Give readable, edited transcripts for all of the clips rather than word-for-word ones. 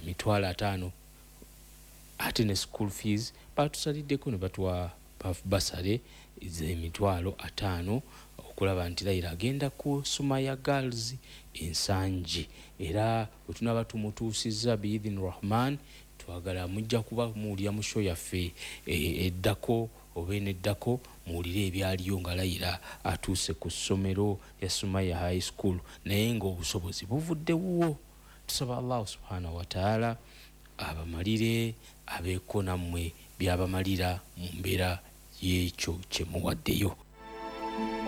50,000, ate ne school fees batusaliddeko ne batuwa basale ez'emitwalo 50 okulaba nti Layira agenda ku Sumaya Girls Ensangi. Era bwe tunaba tumutuusizza biidhin Rahman, twagala mujja kuba muwulira mu show yaffe eddako oba eneddako, muwulire ebyaliyo nga Layira atuuse ku ssomero ya Sumaya High School, naye ng'obusobozi buvudde wuwo. Tusaba Allahu subhanahu wataala abamalire, abeeko nammwe byabamalira mu mbeera y'ekyo kye muwaddeyo.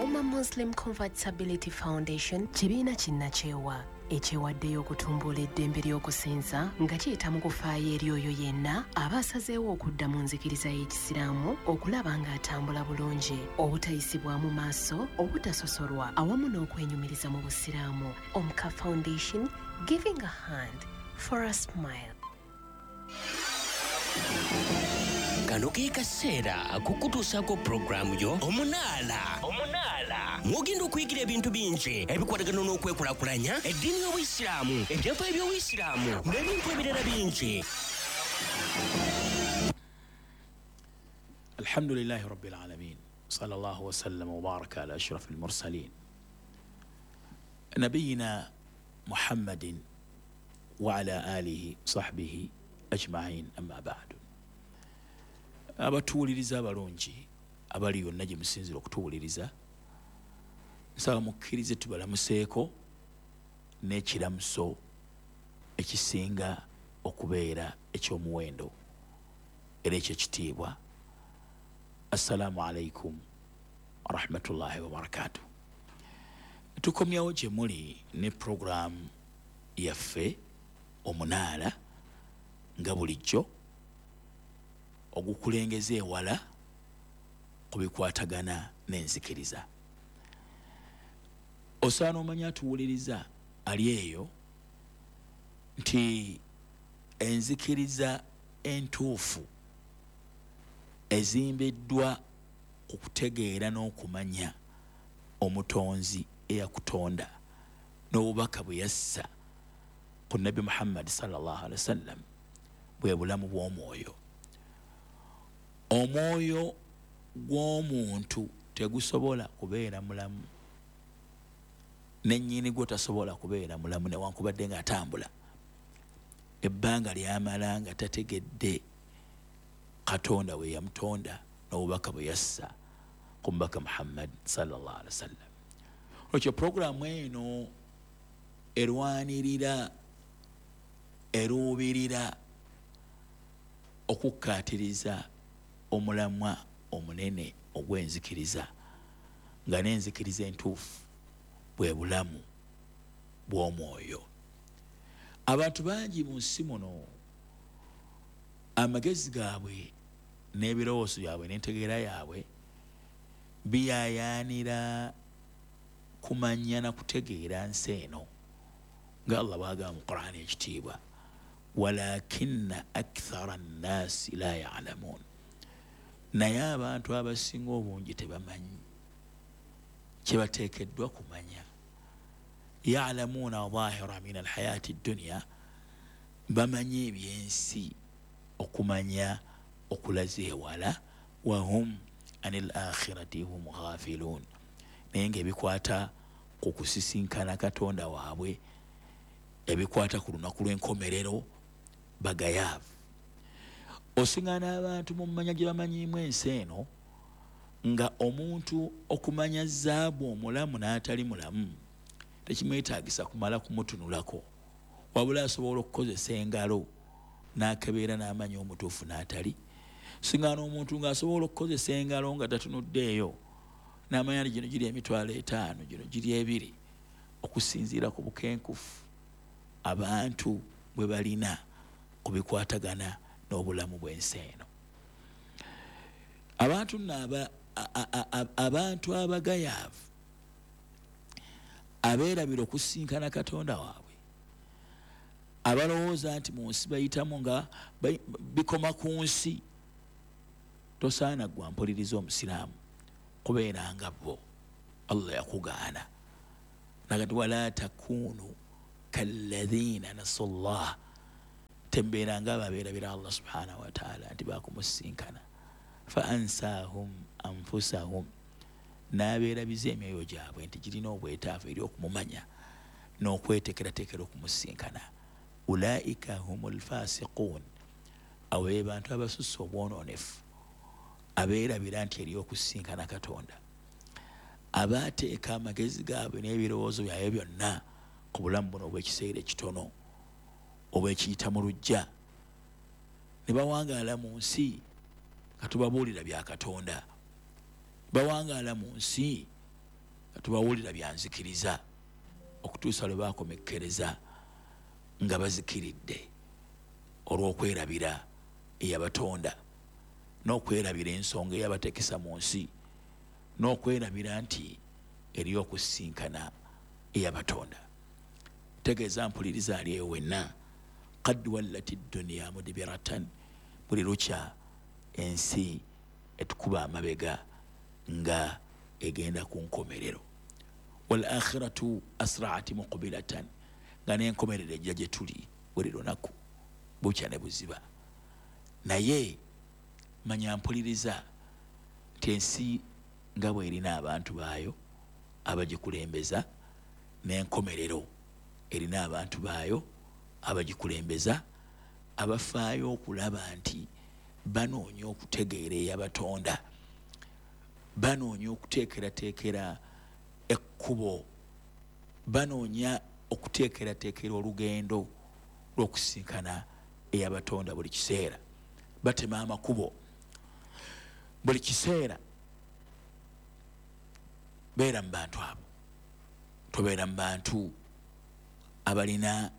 Umma Muslim Convertibility Foundation kibiina kinnakyewa ekyewaddeyo okutumbula eddembe ly'okusinza nga kiyita mu kufaayo eri oyo yenna aba asazeewo okudda mu nzikiriza y'Ekisiraamu, okulaba ng'atambula bulungi, obutayisibwamu maaso, obutasosolwa awamu n'okwenyumiriza mu Busiraamu. Omka Foundation, giving a hand for a smile. Kano ke kaseera kukutuusaako pulogulaamu yo Omunaala, mwogenda okuyigira ebintu bingi ebikwatagana n'okwekulaakulanya, eddiini y'Obuyisiraamu, ebyafaayo by'Obuyisiraamu n'ebintu ebirala bingi. الحمد لله رب العالمين، صلى الله وسلم وبارك على أشرف المرسلين، نبينا محمد وعلى آله صحبه أجمعين، أما بعد. Abatuwuliriza abalungi abali yonna gye musinzira okutuwuliriza, nsaba mukkirize tubalamuseeko n'ekiramuso ekisinga okubeera ekyomuwendo era ekyekitiibwa. Assalaamu alaikum warahmatullahi wabarakatuh. Tukomyawo gye muli ne puroguramu yaffe Omunaala, nga bulijjo ogukulengeza ewala ku bikwatagana n'enzikiriza. Osaana omanya, atuwuliriza ali eyo, nti enzikiriza entuufu ezimbiddwa ku kutegeera n'okumanya Omutonzi eyakutonda n'obubaka bwe yassa ku Nabbi Muhammadi sallallahu alaihi wasallam bwe bulamu bw'omwoyo. Omwoyo gw'omuntu tegusobola kubeera mulamu, nennyini gwo tasobola kubeera mulamu newankubadde ng'atambula, ebbanga lyamala nga tategedde Katonda we yamutonda n'obubaka bwe yassa ku mubaka Muhammad sallallahu alaihi wasallam. Ekyo puroguramu eno erwanirira, eruubirira okukkaatiriza omulamwa omunene ogw'enzikiriza, nga n'enzikiriza entuufu bwe bulamu bw'omwoyo. Abantu bangi mu nsi muno, amagezi gaabwe n'ebirowoozo byabwe n'entegeera yaabwe biyayaanira kumanya na kutegeera nsi eno, nga Allah bwagamba mu Qur'ani ekitiibwa, "Walakinna akthara nnaasi la yalamuun", naye abantu abasinga obungi tebamanyi kyebateekeddwa kumanya. "Yalamuuna zahira min alhayaati dduniya", bamanyi ebyensi okumanya okulaza ewala, "wahum ani l akhirati hum ghafiluun", naye nga ebikwata ku kusisinkana Katonda waabwe, ebikwata ku lunaku lw'enkomerero, bagayaavu. Osiŋŋana abantu mu mmanya gye bamanyiimu ensi eno, nga omuntu okumanya zaabu omulamu n'atali mulamu tekimwetaagisa kumala kumutunulako, wabula asobola okukozesa engalo n'akebeera n'amanya omutuufu n'atali. Siŋŋana omuntu ng'asobola okukozesa engalo nga tatunuddeeyo n'amanya nti gino giri 50,000, gino giri 2, okusinziira ku bukenkufu abantu bwe balina ku bikwatagana n'obulamu bw'ensi eno. Abantu nno abantu abagayaavu abeerabira okusinkana Katonda waabwe, abalowooza nti mu nsi bayitamu nga bikoma ku nsi, tosaana gwa mpuliriza omusiraamu kubeera nga bo. Allah yakugaana nagati, "Wala takunu kalladhina nasu llah", Tembeera nga ababeerabira Allah subhanahu wataala nti bakumusisinkana. Fa ansahum anfusahum, n'abeerabiza emyoyo gyabwe nti girina obwetaavu eri okumumanya n'okweteekerateekera okumusisinkana. Ulaika humul fasiqun, abo be bantu abasusse obwonoonefu, abeerabira nti eri okusisinkana Katonda, abateeka amagezi gaabwe n'ebirowoozo byabwe byonna ku bulamu buno obw'ekiseera ekitono obw'ekiyita mu luggya, ne bawangaala mu nsi nga tubabuulira bya Katonda, bawangaala mu nsi nga tubabuulira bya nzikiriza, okutuusa lwe baakomekkereza nga bazikiridde olw'okwerabira eyabatonda, n'okwerabira ensonga eyabateekesa mu nsi, n'okwerabira nti eri okusisinkana eyabatonda. Tegeeza mpuliriza ali eyo wenna, qad wallati dduniya mudibiratan, buli lukya ensi etukuba amabega nga egenda ku nkomerero. Wal akhiratu asra'at muqbilatan, nga n'enkomerero ejja gye tuli buli lunaku bukya ne buziba. Naye manya mpuliriza nti ensi nga bw'erina abantu baayo abagikulembeza, n'enkomerero erina abantu baayo abagikulembeza, abafaayo okulaba nti banoonya okutegeera eyabatonda, banoonya okuteekerateekera ekkubo, banoonya okuteekerateekera olugendo lw'okusisinkana eyabatonda buli kiseera. Batema amakubo buli kiseera. Beera mu bantu abo, tobeera mu bantu abalina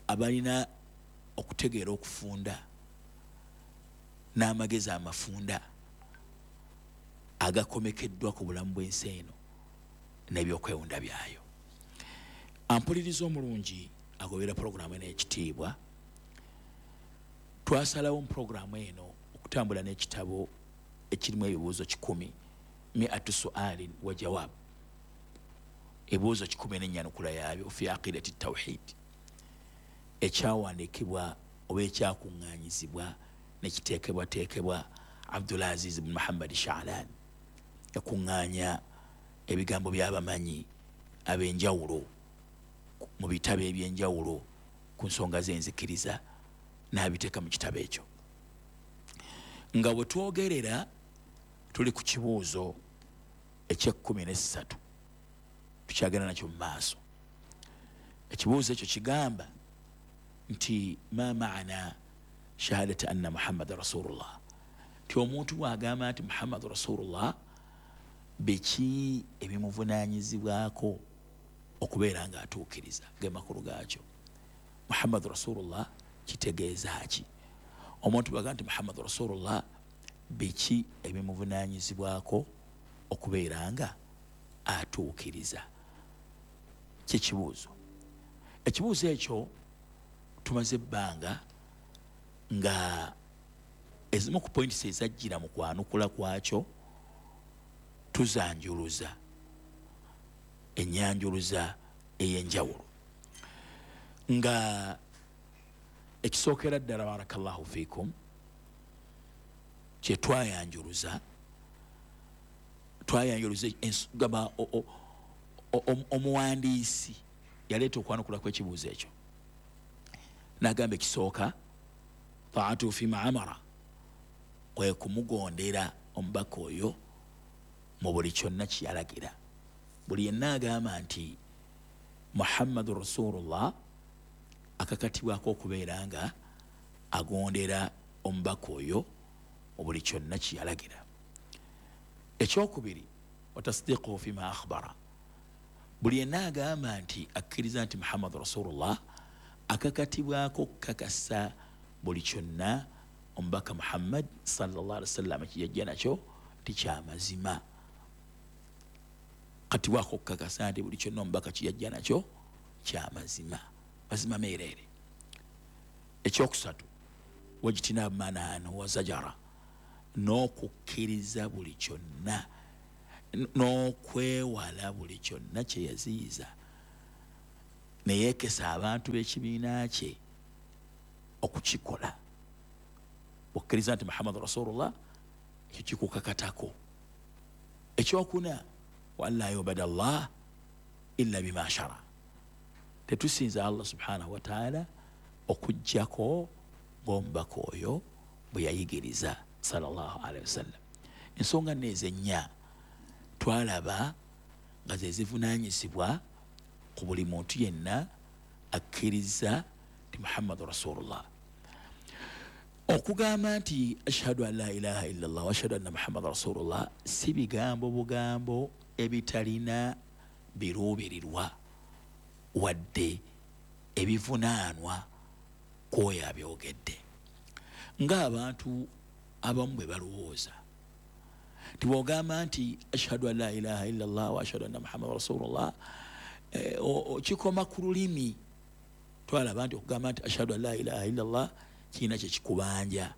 abalina okutegeera okufunda n'amagezi amafunda agakomekeddwa ku bulamu bw'ensi eno n'ebyokwewunda byayo. Ampuliriza omulungi agobera pulogulaamu eno ekitiibwa, twasalawo mu pulogulaamu eno okutambula n'ekitabo ekirimu ebibuuzo 100, miatu sualin wa jawab, ebibuuzo 100 n'ennyanukula yaabyo fi aqidati tawhid, ekyawandiikibwa oba ekyakuŋŋaanyizibwa nekiteekebwateekebwa Abdulaziz bin Muhammad Sha'lan. Yakuŋŋaanya ebigambo by'abamanyi ab'enjawulo mu bitabo eby'enjawulo ku nsonga z'enzikiriza n'abiteeka mu kitabo ekyo. Nga bwe twogerera tuli ku kibuuzo eky'e13, tukyagenda nakyo mu maaso. Ekibuuzo ekyo kigamba nti ma maana shahadati anna Muhammad rasulullah, nti omuntu bw'agamba nti Muhammad rasulullah, biki ebimuvunaanyizibwako okubeera ng'atuukiriza? Ge makulu gaakyo. Muhammad rasulullah kitegeeza ki? Omuntu bw'agamba nti Muhammad rasulullah, biki ebimuvunaanyizibwako okubeera nga atuukiriza? Kyekibuuzo. Ekibuuzo ekyo tumaze ebbanga nga ezimu ku points ezajjira mu kwanukula kwakyo tuzanjuluza ennyanjuluza ey'enjawulo. Nga ekisookera ddala, barakallahu fiikum, kye twayanjuluza gamba omuwandiisi yaleeta okwanukula kw'ekibuuzo ekyo n'agamba ekisooka taatu fima amara, kwe kumugondera omubaka oyo mu buli kyonna kyeyalagira. Buli yenna agamba nti Muhammadu rasulullah akakatibwako okubeera nga agondera omubaka oyo mu buli kyonna kyeyalagira. Ekyokubiri, watasdiquhu fima akhbara, buli yenna agamba nti akkiriza nti Muhammadu rasulullah akakatibwako okukakasa buli kyonna omubaka Muhammad sallallahu alaihi wasallam kyeyajja nakyo nti kyamazima. Katibwako okukakasa nti buli kyonna omubaka kyeyajja nakyo kyamazima, mazima meereere. Ekyokusatu, wajtinabu mananu wa zajara, n'okukkiriza buli kyonna n'okwewala buli kyonna kye yaziyiza Neyeekesa abantu b'ekibiina kye okukikola. Okkiriza nti Muhammadu Rasulullah, ekyo kikukakatako. Ekyokuna, wa an la yubada Allah illa bima shara, tetusinza Allah subhanahu wataala okuggyako ng'omubaka oyo bwe yayigiriza sallallahu alaihi wasallam. Ensonga nneezo ennya twalaba nga ze zivunaanyizibwa ku buli muntu yenna akkiriza nti Muhammadu Rasulullah. Okugamba nti ashhadu an la ilaha illallah wa ashhadu anna Muhammadan Rasulullah si bigambo bugambo ebitalina biruubirirwa wadde ebivunaanwa kw'oyo abyogedde, ng'abantu abamu bwe balowooza nti bw'ogamba nti ashhadu an la ilaha illallah wa ashhadu anna Muhammadan Rasulullah kikoma ku lulimi. Twalaba nti okugamba nti ashhadu an la ilaha illallah kirina kye kikubanja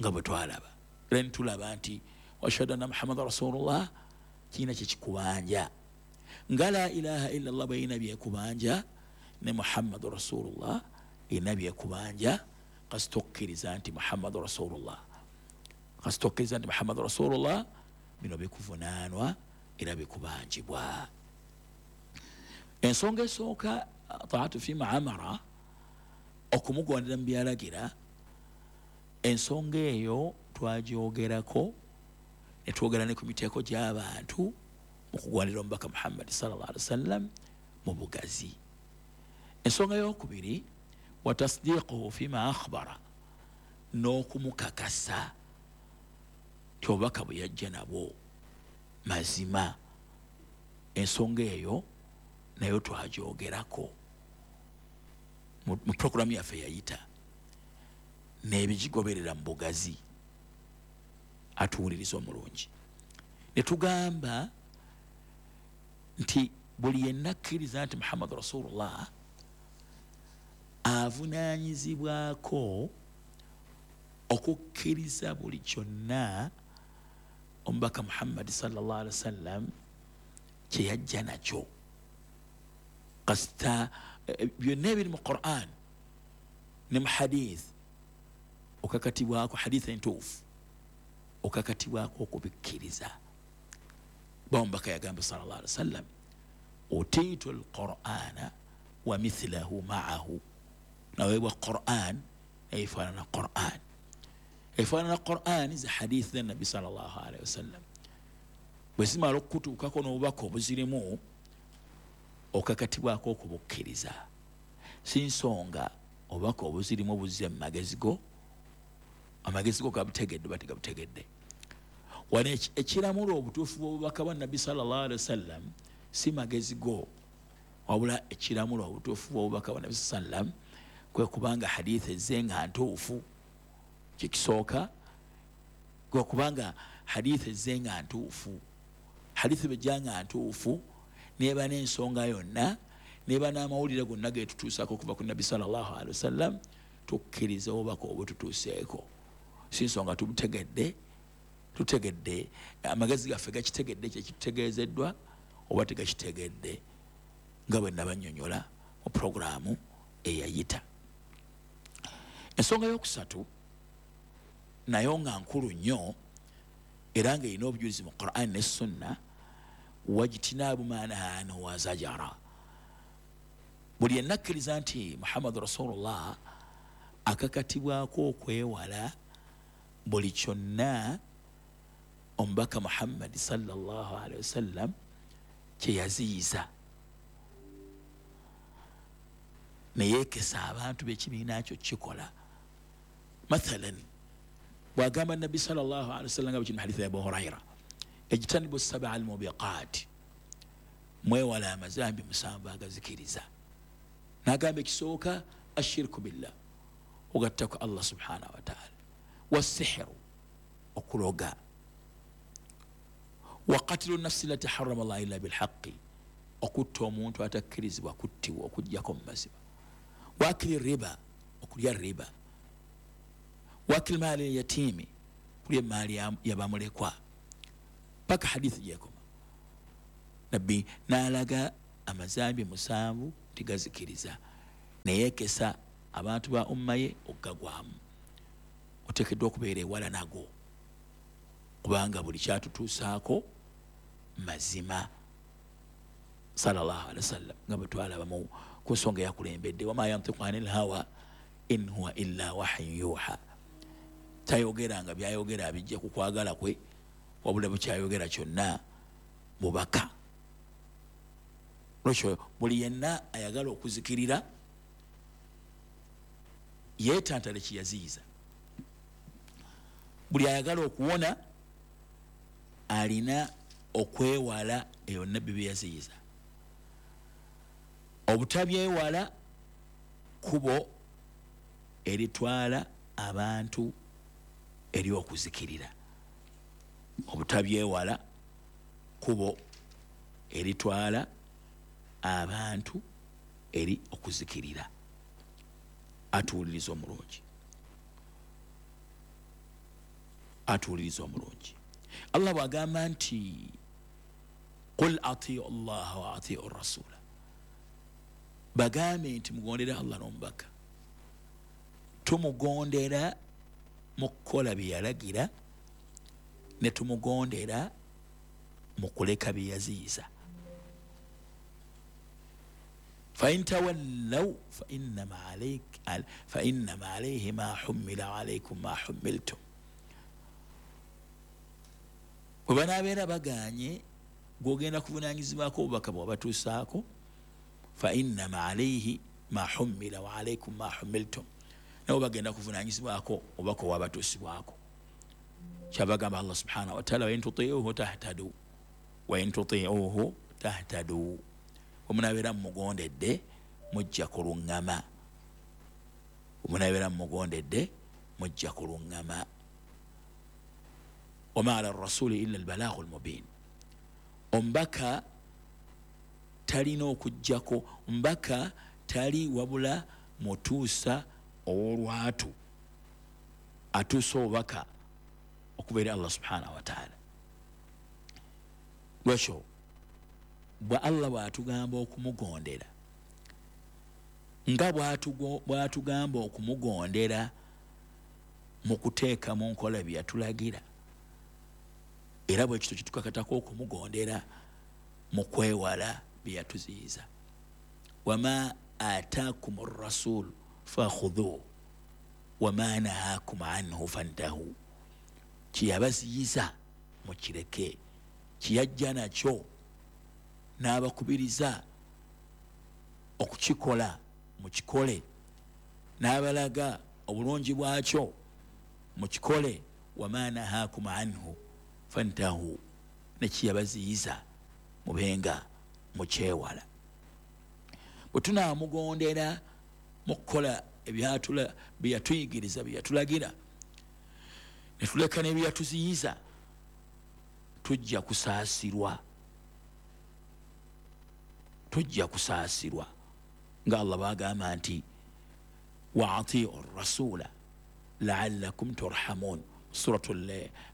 nga bwe twalaba, era ne tulaba nti ashhadu anna Muhammadan Rasulullah kirina kye kikubanja, nga la ilaha illallah bw'erina byekubanja ne Muhammadu Rasulullah erina byekubanja. Kasita okkiriza nti Muhammadu Rasulullah, kasita okkiriza nti Muhammadu Rasulullah, bino bikuvunaanwa era bikubanjibwa. Ensonga esooka, taatu fima amara, okumugondera mu byalagira. Ensonga eyo twagyogerako ne twogera ne ku miteeko gy'abantu mu kugwanira omubaka Muhammadi sallallahu alaihi wasallam mu bugazi. Ensonga eyokubiri, wa tasdiquhu fima akhbara, n'okumukakasa nti obubaka bwe yajja nabwo mazima. Ensonga eyo nayo twagyogerako mu programu yaffe yayita n'ebigigoberera mu bugazi. Atuwuliriza omulungi, ne tugamba nti buli yenna akkiriza nti Muhammadu Rasulullah avunaanyizibwako okukkiriza buli kyonna omubaka Muhammadi sallallahu alaihi wasallam kye yajja nakyo. Kasita byonna ebiri mu Quran ne mu hadith okakatibwako, hadith entuufu okakatibwako okubikkiriza. Omubaka yagamba sallallahu alaihi wasallam, utiitu alqur'ana wa mithlahu ma'ahu, naweebwa Quran efaanana Quran, efaanana Quran ze hadith za Nabbi sallallahu alaihi wasallam. Bwe zimala okutuukako n'obubaka obuzirimu okakatibwako okubukkiriza. Si nsonga obubaka obuzirimu buzze mu magezi go, amagezi go gabutegedde oba tegabutegedde. Wano ekiramula obutuufu bw'obubaka bwa Nabbi sallallahu alaihi wasallam si magezi go, wabula ekiramula obutuufu bw'obubaka bwa Nabbi sallam kwe kubanga hadith ezze nga ntuufu. Kikisooka kwe kubanga hadith ezze nga ntuufu. Hadith bw'ejja nga ntuufu neba n'ensonga yonna neba n'amawulire gonna getutuusaako okuva ku Nabbi sallallahu alaihi wasallam, tukkiriza obubaka obututuuseeko. Si nsonga tubutegedde, tutegedde amagezi gaffe gakitegedde kyekitutegeezeddwa oba tegakitegedde, nga bwe nabannyonnyola mu puroguraamu eyayita. Ensonga yokusatu nayo nga nkulu nnyo era ng'erina obujulizi mu Quran ne Sunna, wajtinaabu ma nahaa anhu wa zajara. Buli yenna akkiriza nti Muhammadu Rasulullah akakatibwako okwewala buli kyonna omubaka Muhammadi sallallahu alaihi wasallam kye yaziyiza, neyeekesa abantu b'ekibiina kyo kikola. Mathalan, bw'agamba Nabbi sallallahu alaihi wasallam nga bwe kiri mu haditha ya Abu Huraira, ejtanibu sab'a almubiqaat, mwewala amazambi musanvu agazikiriza. N'agamba ekisooka ashirku billah, ogattako Allah subhanahu wa ta'ala, wassihiru, okuloga, wa qatlu nafsi lati harrama Allah illa bilhaqi, okutta omuntu atakkirizibwa kuttibwa okuggyako mu mazima, wa akili riba, okulya riba, wa akili maali yatiimi, kulya emaali yabamulekwa. Paka hadithi gyekoma Nabbi n'alaga amazambi musanvu Tigazikiriza neyekesa abantu ba umma ye okugagwamu. Oteekeddwa okubeera ewala nago, kubanga buli kyatutuusaako mazima sallallahu alaihi wasallam, nga bwe twalaba ku nsonga eyakulembedde, wama yantiku anil hawa in huwa illa wahyun yuha. Tayogera nga byayogera abijja ku kwagala kwe, wabula bukyayogera kyonna mubaka. Lwekyo buli yenna ayagala okuzikirira yeetantale kiyaziyiza. Buli ayagala okuwona alina okwewala eyo nabbi byeyaziyiza. Obutabyewala kubo eritwala abantu eri okuzikirira. Obutabyewala kubo eritwala abantu eri okuzikirira. Atuwuliriza omulungi, atuwuliriza omulungi. Allah bw'agamba nti qul atiu llaha wa atiu rasula, bagambe nti mugondere Allah n'omubaka. Tumugondera mu kukola bye yalagira, ne tumugondera mu kuleka bye yaziyiza. Fain tawallaw fainnama alayhi ma hummila alaykum ma hummiltum. Bwe banaabeera baganye, gwogenda kuvunaanyizibwako obubaka bwabatuusaako, fainnama alayhi ma hummila wa alaykum ma hummiltum, nabo bagenda kuvunaanyizibwako obubaka obwabatuusibwako. Kyabagamba Allah subhanahu wa taala, wain tutiuhu tahtadu, wain tutiuhu tahtadu. Bwe mugondedde mujja kuluŋŋama, bwe mugondedde mujja kuluŋŋama. Wama ala rasuli illa albalaghu almubin. Omubaka talina okujjako, omubaka tali wabula mutuusa ow'olwatu, atuusa obubaka okuva eri Allah subhanahu wa taala. Lwekyo bwe Allah bw'atugamba okumugondera, nga bw'atugamba okumugondera mu kuteeka mu nkola bye yatulagira, era bwe kityo kitukakatako okumugondera mu kwewala bye yatuziyiza. Wama ataakum rasul fakhudhuhu wama nahakum anhu fantahu. Kiyabaziyiza mukireke, kiyajja nakyo n'abakubiriza okukikola mukikole, n'abalaga obulungi bwakyo mukikole. Wama nahakum anhu fantahu, nekiyabaziyiza mubenga mukyewala. Bwe tunaamugondera mu kukola bye yatuyigiriza, bye yatulagira, ne tuleka n'ebyatuziyiza, tujja kusaasirwa, tujja kusaasirwa. Nga Allah bw'agamba nti wa atiu rasula laallakum turhamun, suratu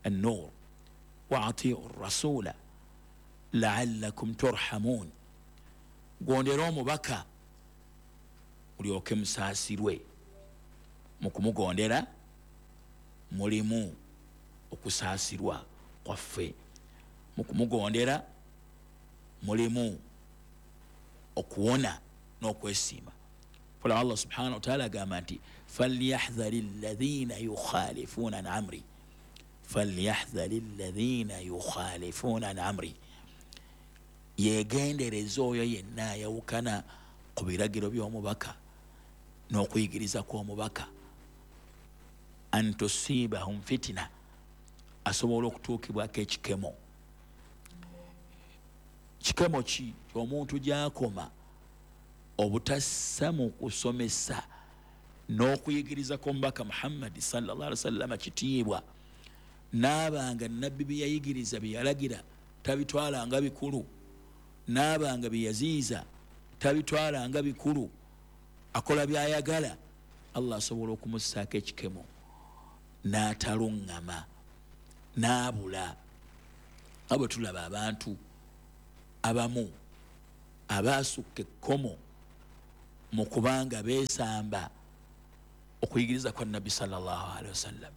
an-Nur. Wa atiu rasula laallakum turhamun, gondera omubaka mulyoke musaasirwe. Mu kumugondera mulimu okusaasirwa kwaffe, mu kumugondera mulimu okuwona n'okwesiima. Fala Allah subhanahu wa ta'ala agamba nti falyahdhari alladhina yukhalifuna an amri, falyahdhari alladhina yukhalifuna an amri. Yegendereza oyo yenna ayawukana ku biragiro by'omubaka n'okuyigiriza kw'omubaka, an tusibahum fitina, asobola okutuukibwako ekikemo. Kikemo ki omuntu gy'akoma obutassa mu kusomesa n'okuyigiriza kw'omubaka Muhammadi sallallahu alaihi wasallam kitiibwa, n'abanga nabbi bye yayigiriza bye yalagira tabitwalanga bikulu, n'abanga bye yaziyiza tabitwalanga bikulu, akola by'ayagala, Allah asobola okumussaako ekikemo n'ataluŋŋama n'abula. Nga bwe tulaba abantu abamu abaasukka ekkomo mu kubanga beesamba okuyigiriza kwa Nabbi sallallahu alaihi wasallam,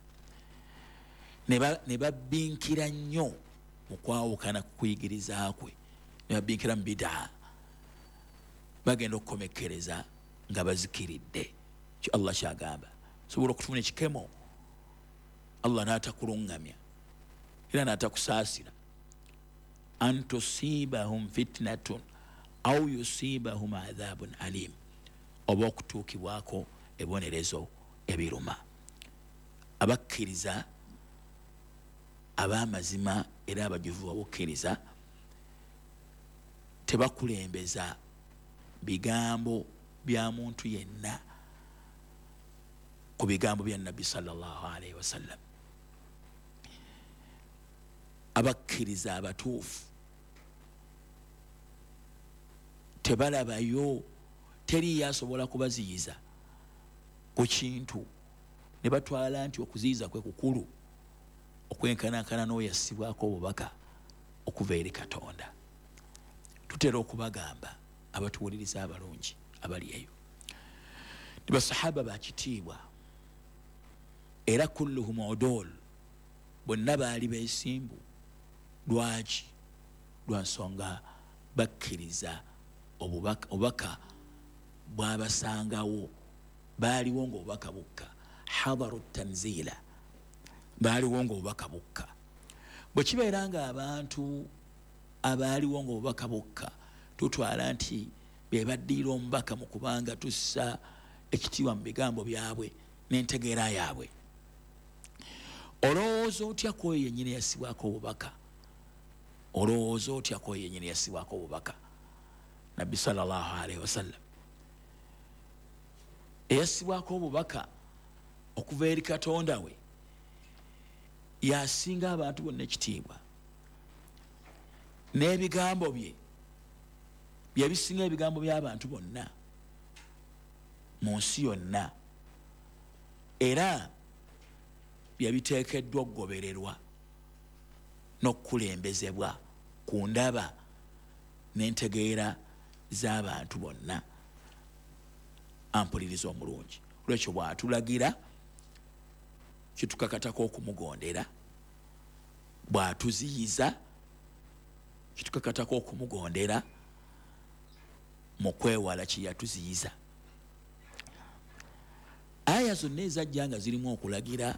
ne babbinkira nnyo mu kwawukana ku kuyigiriza kwe, ne babbinkira mu bidaa, bagenda okukomekkereza nga bazikiridde. Kyo Allah kyagamba, sobola okutufuna ekikemo Allah n'atakuluŋŋamya era n'atakusaasira, an tusibahum fitnatun au yusibahum adhabun alim, oba okutuukibwako ebibonerezo ebiruma. Abakkiriza ab'amazima era abajuvu babukkiriza tebakulembeza bigambo bya muntu yenna ku bigambo bya Nabbi sallallahu alaihi wasallam. Abakkiriza abatuufu tebalabayo, teriyo asobola kubaziyiza ku kintu ne batwala nti okuziyiza kwe kukulu okwenkanankana n'oyo yassibwako obubaka okuva eri Katonda. Tutera okubagamba abatuwuliriza abalungi abali eyo nti basahaba bakitiibwa era kulluhum udul, bonna baali beesimbu. Lwaki? Lwa nsonga bakkiriza obubaka bwabasangawo, baaliwo ng'obubaka bukka, hadaru tanzila, baaliwo ng'obubaka bukka. Bwe kibeera nga abantu abaaliwo ng'obubaka bukka tutwala nti be baddiira omubaka mu kubanga tussa ekitiibwa mu bigambo byabwe n'entegeera yaabwe, olowooza otya ku oyo yennyini yassibwako obubaka? Olowooza otya ku oyo yennyini yassibwako obubaka, Nabbi sallallahu alaihi wasallam, eyassibwako obubaka okuva eri Katonda we, yasinga abantu bonna ekitiibwa, n'ebigambo bye byebisinga ebigambo by'abantu bonna mu nsi yonna, era byebiteekeddwa okugobererwa n'okukulembezebwa ku ndaba n'entegeera z'abantu bonna. Ampuliriza omulungi, olwekyo bw'atulagira kitukakatako okumugondera, bw'atuziyiza kitukakatako okumugondera mu kwewala kye yatuziyiza. Aya zonna ezajja nga zirimu okulagira,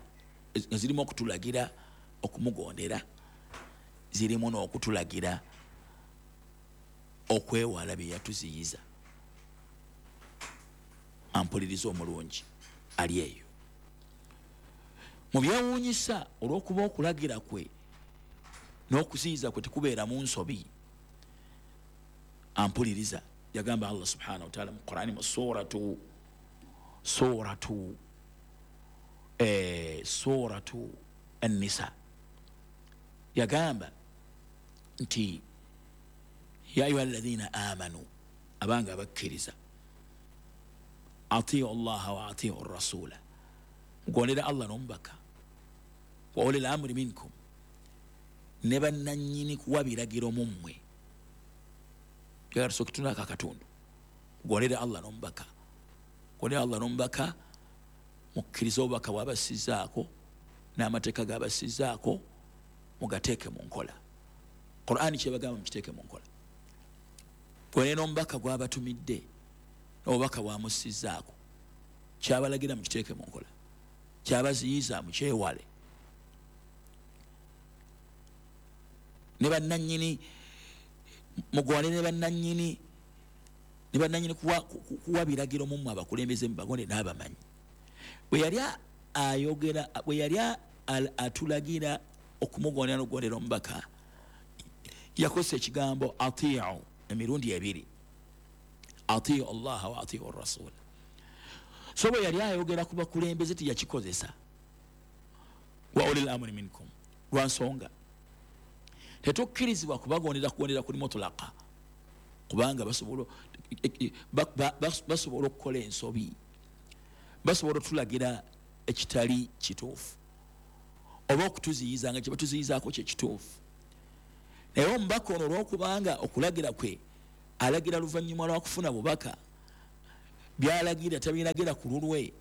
nga zirimu okutulagira okumugondera, zirimu n'okutulagira okwewala bye yatuziyiza. Ampuliriza omulungi ali eyo, mu byewuunyisa olw'okuba okulagira kwe n'okuziyiza kwe tekubeera mu nsobi. Ampuliriza, yagamba Allah subhanahu wa ta'ala mu Qur'ani mu suratu An-Nisa, yagamba nti ya ayuha alladhina amanu, abanga abakkiriza, atiu Allaha wa atiu rasula, mugondera Allah n'omubaka, wa ulil amri minkum, ne bannannyini kuwa biragiro mu mmwe. Tusooke tunako akatundu, mugondere Allah n'omubaka, mugondere Allah n'omubaka, mukkirize obubaka bw'abassizzaako n'amateeka g'abassizzaako, mugateeke mu nkola. Qur'ani kyebagamba mukiteeke mu nkola. Gwene n'omubaka gw'abatumidde n'obubaka bwamussizzaako, kyabalagira mukiteeke mu nkola, kyabaziyiza mukyewale. Ne bannannyini mugwane ne bannannyini kuwa biragiro mu mmwe abakulembeze mubagonde n'abamanyi. Bwe yali ayogera, bwe yali atulagira okumugondera n'okugondera omubaka, yakozesa ekigambo atiu emirundi ebiri, atiu Allaha wa atiu rasul. So bwe yali ayogera ku bakulembeze teyakikozesa wa ulil amri minkum, lwa nsonga tetukkirizibwa kubagondera kugondera kuli mutulaka, kubanga basobola okukola ensobi, basobola otulagira ekitali kituufu oba okutuziyiza nga kye batuziyizaako kye kituufu. Naye omubaka ono olw'okubanga okulagira kwe alagira luvannyuma lwa kufuna bubaka, Byalagira tabiragira ku lulwe.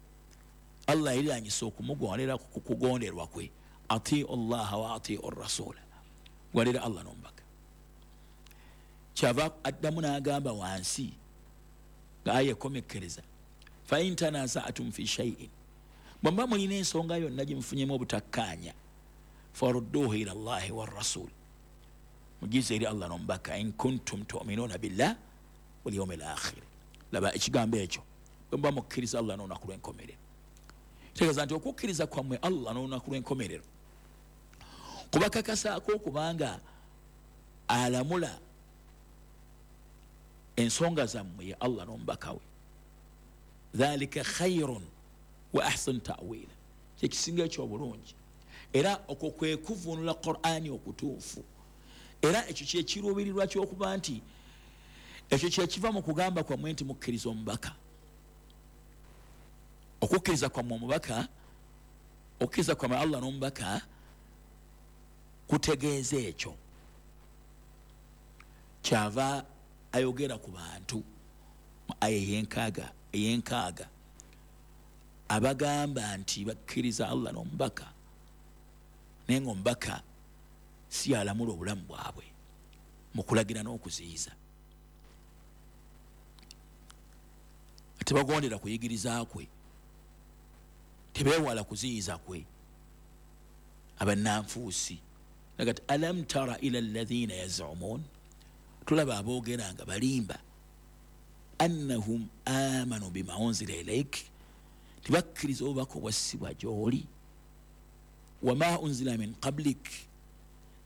Allah yiranyisa okumugondera ku kugonderwa kwe. Atiu llaha wa atiu rasula, gwalira Allah n'omubaka. Kyava addamu n'agamba wansi nga aya ekomekkereza, fa in tanaza'tum fi shay'in, bwemba mulina ensonga yonna gye mufunyemu obutakkaanya, farudduhu ila llahi warrasul, mugize eri Allah n'omubaka, in kuntum tu'minuna billah wal yawmil akhir. Laba ekigambo ekyo, bwemba mukkiriza Allah n'olunaku lw'enkomerero. Kitegeeza nti okukkiriza kwammwe Allah n'olunaku lw'enkomerero kubakakasaako okubanga alamula ensonga zammwe ye Allah n'omubaka we. Dhalika khairun wa ahsan ta'wila, kyekisinga ekyobulungi. Era okwo kwe kuvvuunula Qur'ani okutuufu. Era ekyo kyekiruubirirwa ky'okuba nti ekyo kyekiva mu kugamba kwammwe nti mukkiriza omubaka. Okukkiriza kwammwe omubaka, okukkiriza kwammwe Allah n'omubaka kutegeeza ekyo. Kyava ayogera ku bantu mu aya ey'enkaaga abagamba nti bakkiriza Allah n'omubaka, naye ng'omubaka si alamula obulamu bwabwe mu kulagira n'okuziyiza. Tebagondera kuyigiriza kwe, tebeewala kuziyiza kwe. Abannanfuusi nagati alam tara ila alladhina yazumun, tulaba aboogera nga balimba, annahum amanu bima unzila ilaik, tebakkiriza obubaka obwassibwa gy'oli, wama unzila min qablik,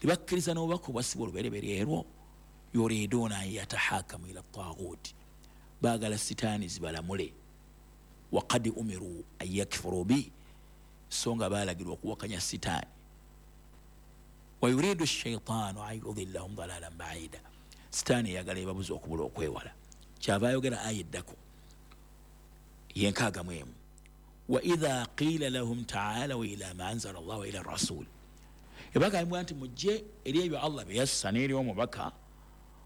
tebakkiriza n'obubaka obwassibwa olubereberye erwo, yuriduna an yatahakamu ila taguti, baagala sitaani zibalamule, waqad umiru an yakfuru bi, so nga baalagirwa okuwakanya sitaani, wa yuridu shaitaanu an yudillahum dalalan baida, sitaani eyagala ebabuza okubula okwewala. Kyava ayogera aya eddako yenkaaga mu emu, wa idha qila lahum taalaw ila ma anzala llah wa ila rasul, ebagambibwa nti mujje eri ebyo Allah bye yassa n'eri omubaka,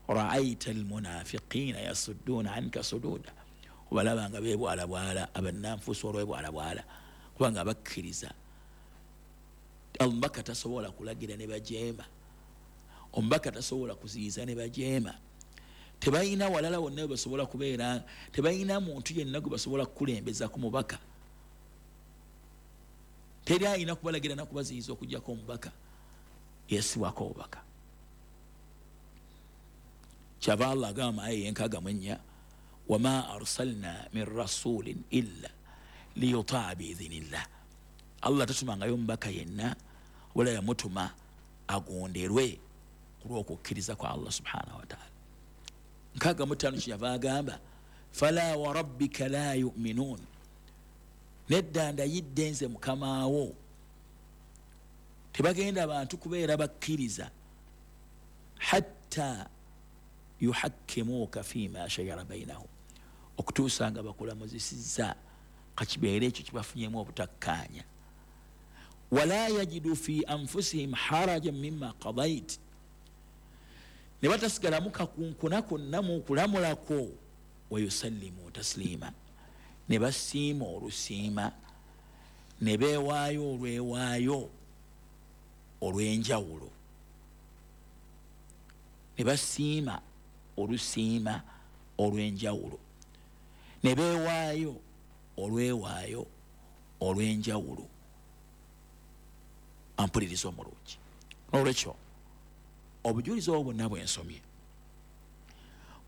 raaita almunafiqina yasudduna anka sududa, obalaba nga beebwalabwala, abannanfuusi olwebwalabwala, kubanga bakkiriza omubaka tasobola kulagira ne bajeema, omubaka tasobola kuziyiza ne bajeema, tebalina walala wonna we basobola kubeera, tebalina muntu yenna gwe basobola kukulembeza ku mubaka, teri alina kubalagira na kubaziyiza okuggyako omubaka yasibwako obubaka. Kyava Allah agamba aya ey'enkaaga mu ennya, wama arsalna min rasulin illa liyutaa biidhinillah, Allah tatumangayo omubaka yenna wala yamutuma agonderwe ku lw'okukkiriza kwa Allah subhanahu wataala. 65 kyeyava agamba fala wa rabbika la yuminun, nedda ndayidde nze mukamaawo, tebagenda bantu kubeera bakkiriza hatta yuhakkimuuka fima shajara bainahum, okutuusa nga bakulamuzisizza kakibeere ekyo kibafunyemu obutakkaanya, wala yajidu fi anfusihim harajan mimma qadait, ne batasigalamu kakunkuna konna mu kulamulako, wayusallimu taslima, ne basiima olusiima, ne beewaayo olwewaayo olw'enjawulo, ne basiima olusiima olw'enjawulo, ne beewaayo olwewaayo olw'enjawulo. Ampuliriza omulungi. N'olwekyo obujulizi obwo bwonna bwe nsomye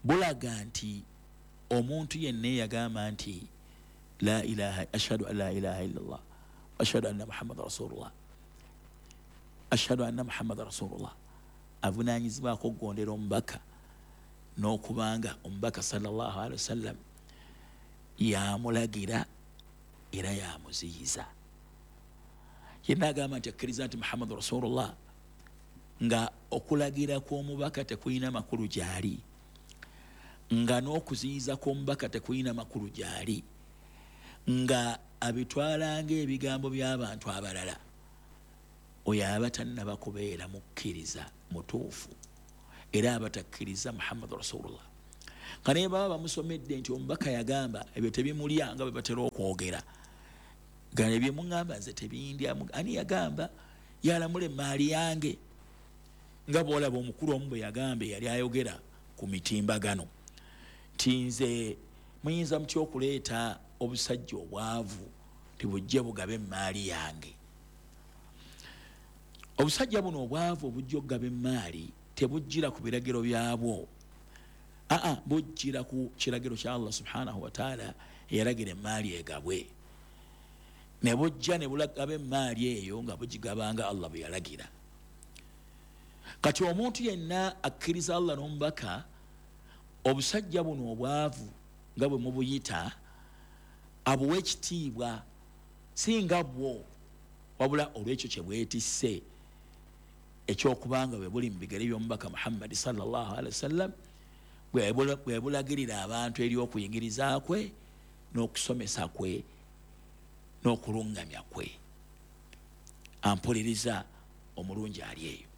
bulaga nti omuntu yenna eyagamba nti la ilaha, ashhadu an la ilaha illallah, ashhadu anna muhammad rasulullah, ashhadu anna muhammad rasulullah, avunaanyizibwako okugondera omubaka n'okubanga omubaka sallallahu alaihi wasallam yamulagira era yamuziyiza. Yenna agamba nti akkiriza nti muhammad rasulullah, nga okulagira kw'omubaka tekulina makulu gy'ali, nga n'okuziyiza kw'omubaka tekulina makulu gy'ali, nga abitwala ng'ebigambo by'abantu abalala, oyo aba tannaba kubeera mukkiriza mutuufu, era aba takkiriza muhammad rasulullah. Nga naye baba bamusomedde nti omubaka yagamba, ebyo tebimulya nga bwe batera okwogera. Gano ebyemuŋŋamba nze tebindya. Ani yagamba yalamula emaali yange? Nga bw'olaba omukulu omu bwe yagamba, yali ayogera ku mitimbagano nti nze muyinza mutya okuleeta obusajja obwavu tibujje bugabe emaali yange? Obusajja buno obwavu obujja okugaba emaali tebujjira ku biragiro byabwo, aa bujjira ku kiragiro kya Allah subhanahu wataala eyalagira emaali egabwe, ne bujja ne bulagaba emaali eyo nga bugigabanga Allah bwe yalagira. Kati omuntu yenna akkiriza Allah n'omubaka, obusajja buno obwavu nga bwe mubuyita abuwa ekitiibwa, si nga bwo, wabula olwekyo kye bwetisse ekyokubanga bwe buli mu bigere by'omubaka Muhammadi sallallahu alaihi wasallam, bwe bulagirira abantu eri okuyigiriza kwe n'okusomesa kwe n'okulungamya kwe. Ampuliriza omulungi ali eyo,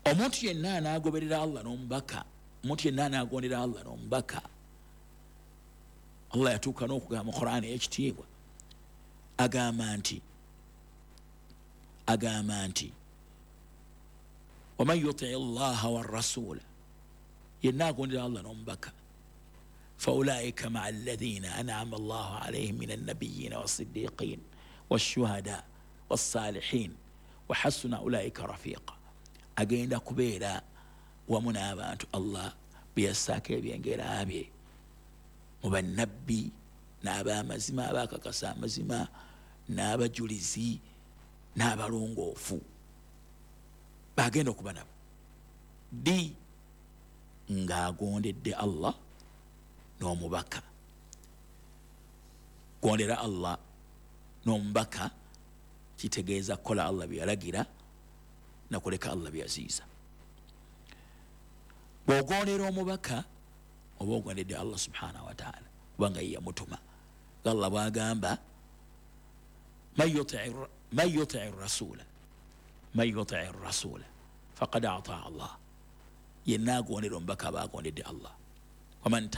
omuntu yenna anaagoberera Allah n'omubaka, omuntu yenna anaagondera Allah n'omubaka, Allah yatuuka n'okugamba mu Qur'ani ey'ekitiibwa, agamba nti waman yutii llaha warasula, yenna agondera Allah n'omubaka, faulaika maa alladhina an'ama Allahu alayhim min annabiyina wassiddiqin washuhada wassalihin wahasuna ulaika rafiqa. Agenda kubeera wamu n'abantu Allah beyassaako ebyengera bye mu bannabbi n'abamazima abakakasa amazima n'abajulizi n'abalongoofu, bagenda okuba nabo ddi? Ng'agondedde Allah n'omubaka. Gondera Allah n'omubaka kitegeeza kukola Allah bye yalagira nakuleka Allah bye yaziyiza. Bw'ogondera omubaka oba ogondedde Allah subhanahu wataala, kubanga ye yamutuma. Allah bw'agamba man yutii rasula faqad ataa Allah, yenna agondera omubaka aba agondedde Allah. Waman